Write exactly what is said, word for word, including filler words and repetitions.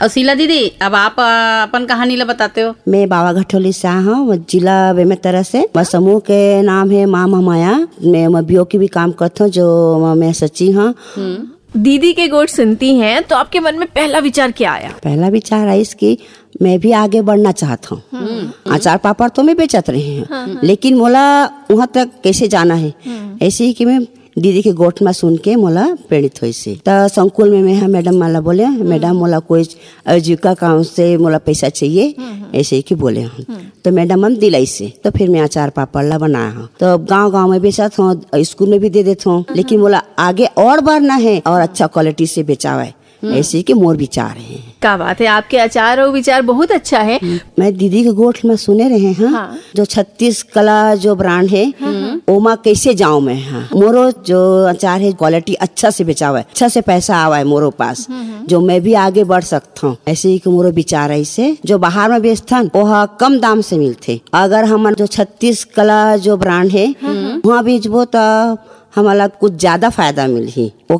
और शीला दीदी, अब आप अ, अपन कहानी ला बताते हो। मैं बावा घटोली से आ हूँ, जिला बेमेतरा से। मोर समूह के नाम है माँ महामाया। मैं, मैं बीओ की भी काम करता हूँ, जो मैं सचिव हूँ। दीदी के गोठ सुनती हैं तो आपके मन में पहला विचार क्या आया? पहला विचार है इसकी, मैं भी आगे बढ़ना चाहता हूँ। अचार पापड़ तो मैं बेचत रही हूँ, लेकिन मोला वहाँ तक कैसे जाना है, ऐसे ही कि मैं दीदी के गोठ में सुन के मोला प्रेरित होइस। त संकुल में मैं हा मैडम मन ला बोले, मैडम, मोला कोई आजीविका काम से मोला पैसा चाहिए, ऐसे ही कि बोले हूँ। तो मैडम मन दिलाइस, तो फिर मैं अचार पापड़ ला बनाए हूँ। तो अब गाँव गाँव में बेचत हूँ, स्कूल में भी दे देत हूँ, लेकिन मोला आगे और बढ़ना है और अच्छा क्वालिटी से बेचावे, ऐसे ही कि मोर विचार है। क्या बात है, आपके अचार और विचार बहुत अच्छा है। मैं दीदी के गोठ में सुने रहे हैं, हाँ। जो छत्तीस कला जो ब्रांड है, ओमा कैसे जाऊं मैं, हाँ। मोरो जो अचार है, क्वालिटी अच्छा से बेचावे, अच्छा से पैसा आवे मोरो पास, जो मैं भी आगे बढ़ सकता हूँ। ऐसे ही कि मोरो विचार है, इसे जो बाहर में बेचथन, वो हा कम दाम से मिलथे। अगर हमन जो छत्तीस कला जो ब्रांड है, वहाँ बेचबो, तो हमला कुछ ज्यादा फायदा मिलही। वो